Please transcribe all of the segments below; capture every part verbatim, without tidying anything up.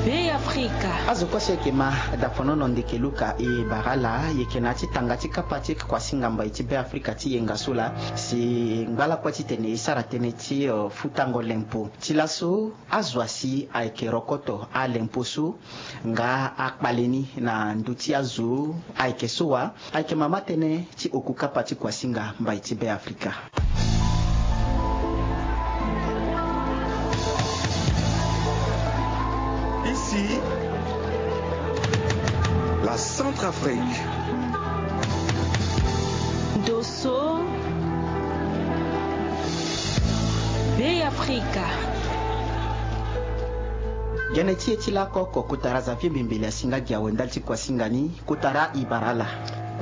Be Afrika. Azo kue so e yeke ma daponono ndeke luka e bara ala, e yeke na ya ti tanga ti kapa ti kuasinga mbai ti Be Afrika ti yenga so laa. Si ngba lakue titene e sara tënë ti, eh, futango lempo. Ti laso, azo asi ayeke rokoto alempo so nga akpale ni na ndö ti azo ayeke so wa. Ayeke mama tënë ti oku kapa ti kuasinga mbai ti Be Afrika. Ici, la Centrafrique. Dosso, Be Afrika. Gene ti e ti lakoko, kotara Xavier Mbembele asi nga gi awe ndali ti kuasinga ni. Kotara, e bara ala.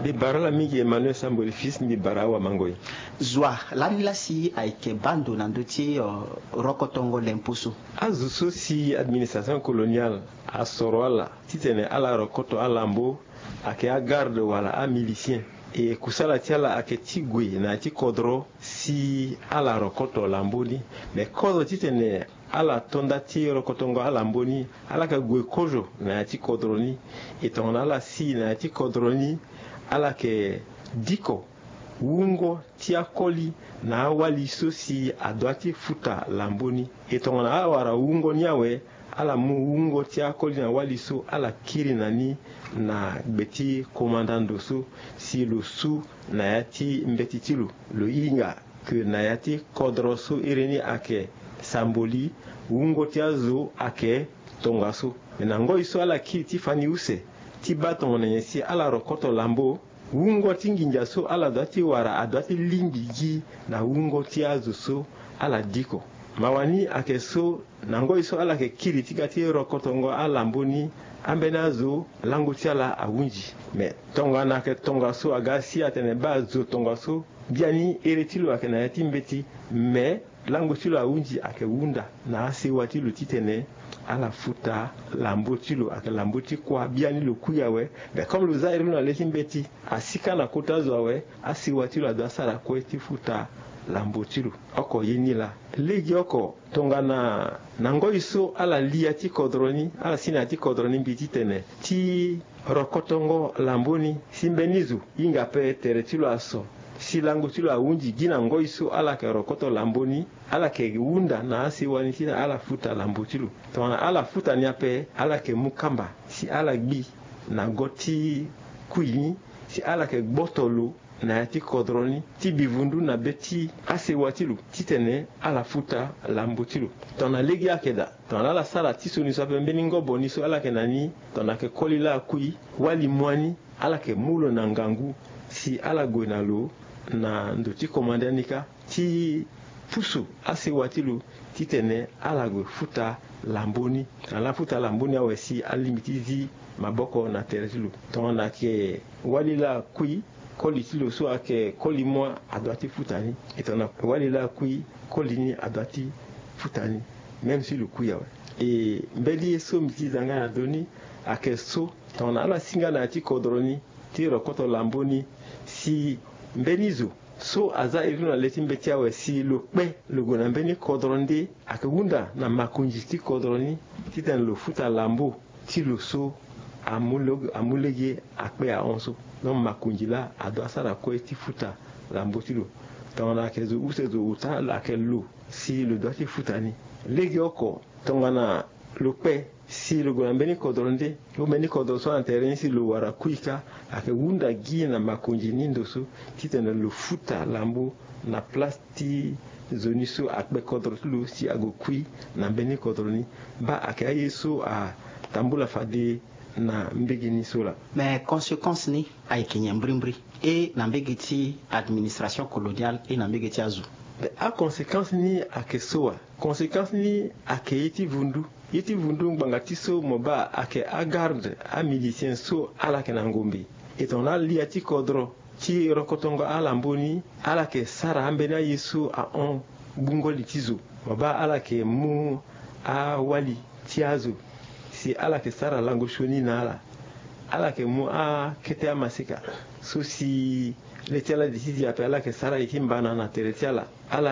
Mbi bara ala mingi Emmanuel Sambori Fils, mbi bara awamangoi. Zo wa lani laa si ayeke baa ndo na ndö ti, eh, rokotongo lempo so? Azo so si administration coloniale asoro ala titene ala rokoto alambo, ayeke agarde wala amilicien. E kusala ti ala ayeke ti gue na ya ti kodro si ala rokoto lambo ni. Me kozo titene ala to nda ti rokotongo alambo ni, ala yeke gue kozo na ya ti kodro ni. E tongana ala si na ya ti kodro ni, ala yeke diko wungo ti akoli na awali so si adua ti futa lambo ni. E tongana ala wara wungo ni awe, ala mu wungo ti akoli na wali so, ala kiri na ni na gbe ti komanda ndo so si lo su na ya ti mbeti ti lo. Lo hinga ke na ya ti kodro so iri ni ayeke Sambori, wungo ti azo ayeke tongaso. Me na ngoi so ala kiri ti fani use ti baa tongana nyen si ala rokoto lambo, wungo ti nginza so ala dua ti wara adua ti lingbi gi na wungo ti azo so ala diko. Mawa ni ayeke so, na ngoi so ala yeke kiri ti ga ti rokotongo alambo ni, ambeni azo lango ti ala ahunzi. Me tongana ayeke tongaso, aga si atene baa zo tongaso, biani ere ti lo ayeke na ya ti mbeti. Me lango ti lo ahunzi ayeke hunda na asewa ti lo titene ala futa lambo ti lo. Ayeke lambo ti kuâ, biani lo kui awe. Me comme lo za iri lo na le ti mbeti, asi kâ na kota zo awe, asewa ti lo adua sara kue ti futa lambo ti lo. Oko ye ni laa. Legeoko, tongana na ngoi so ala li ya ti kodro ni, ala si na ya ti kodro ni mbi titene ti rokotongo lambo ni, si mbeni zo hinga ape tere ti lo aso, si lango ti lo ahunzi gi na ngoi so ala yeke rokoto lambo ni, ala yeke hunda na asewa ni titene ala futa lambo ti lo. Tongana ala futa ni ape, ala yeke mu kamba si ala gbi na go ti kui ni, si ala yeke gboto lo na ya ti kodro ni, ti bivundu na be ti asewa ti lo titene ala futa lambo ti lo. Tongana lege ayeke daa, tongana ala sara ti sioni so ape, mbeni ngobo ni so ala yeke na ni, tongana ayeke koli laa akui, wali mu ani, ala yeke mu lo na ngangu si ala gue na lo na ndo ti komanda ni kâ, ti pusu asewa ti lo titene ala gue futa lambo ni. Ala futa lambo ni awe si alingbi ti zi maboko na tere ti lo. Tongana ayeke wali laa akui, koli ti lo so ayeke koli mu adua ti futa ni. E tongana wali laa akui, koli ni adua ti futa ni, même si lo kui awe. E mbeni ye so mbi ti za nga na ndö ni ayeke so, tongana ala si nga na ya ti kodro ni ti rokoto lambo ni, si mbeni zo so aza iri lo na le ti mbeti awe, si lo kpe lo gue na mbeni kodro nde, ayeke hunda na makonzi ti kodro ni titene lo futa lambo ti lo so amu lo, amu lege akpe ahon so. Donc makonzi laa adua sara kue ti futa lambo ti lo. Tongana ayeke zo use zo ota, ayeke lo si lo dua ti futa ni. Legeoko, tongana lo kpe si lo gue na mbeni kodro nde, lo mbeni kodro so na tere ni si lo wara kui kâ, ayeke hunda gi na makonzi ni ndo so titene lo futa lambo na place ti nzoni so akpe kodro ti lo si ague kui na mbeni kodro ni. Baa ayeke aye so atambula fade na mbege ni so laa. Me conséquence ni ayeke nyen mbrimbri, e na mbege ti administration coloniale, e na mbege ti azo? Be, aconséquence ni ayeke so wa. Conséquence ni ayeke ye ti vundu. Ye ti vundu, ngbanga ti so mo baa ayeke agarde, amilicien so ala yeke na ngombe. E tongana alia ti kodro ti rokotongo alambo ni, ala yeke sara ambeni aye so ahon gbungo li ti zo. Mo baa ala yeke mu awali ti azo si ala yeke sara lango sioni na ala. Ala yeke mu akete amaseka so si le ti ala di ti di ape, ala yeke sara ye ti mbana na tere ti ala. Ala